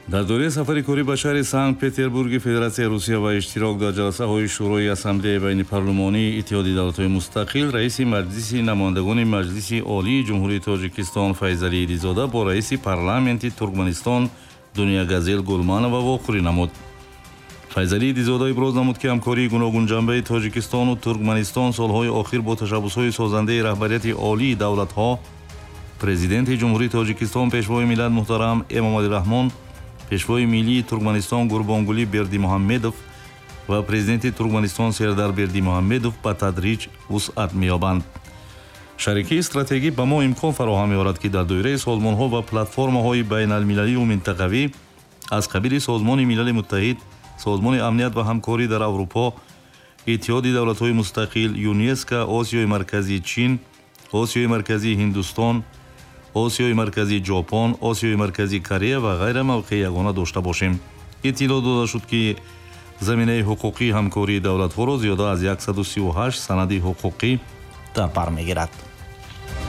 Дар доираи сафари корӣ ба шаҳри Санкт-Петербурги Федератсияи Русия ва иштирок дар ҷаласаҳои Шӯрои Ассамблеяи байнипарлумонии Иттиҳоди давлатҳои мустақил, раиси Маҷлиси намояндагони Маҷлиси Олии Ҷумҳурии Тоҷикистон Файзалӣ Идизода бо раиси парламенти Туркманистон Дунягазел Гулманова вохӯрӣ намуд. Файзалӣ Идизода иброз намуд, ки ҳамкории гуногунҷанбаи Тоҷикистону Туркманистон солҳои охир бо ташаббусҳои созандаи раҳбарияти олии давлатҳо, Президенти Ҷумҳурии Тоҷикистон, Пешвои миллат муҳтарам Эмомалӣ Раҳмон, Пешвои миллии Туркманистон Гурбонгулӣ Бердимуҳаммедов ва Президенти Туркманистон Сердар Бердимуҳаммедов ба тадриҷ вусъат меёбанд. Шарикии стратегӣ ба мо имкон фароҳам меорад, ки дар доираи созмонҳо ва платформаҳои байналмилалию минтақавӣ аз қабили Созмони Милали Муттаҳид, Созмони амният ва ҳамкорӣ дар Аврупо, Иттиҳоди давлатҳои мустақил, ЮНЕСКО, Осиёи Марказӣ Чин, Осиёи Марказӣ Ҳиндустон, Осиёи Марказӣ Ҷопон, Осиёи Марказӣ Корея ва ғайра мавқеи ягона дошта бошем. Иттилоъ дода шуд, ки заминаи ҳуқуқии ҳамкории давлатҳоро зиёда аз 138 санади ҳуқуқӣ дар бар мегирад.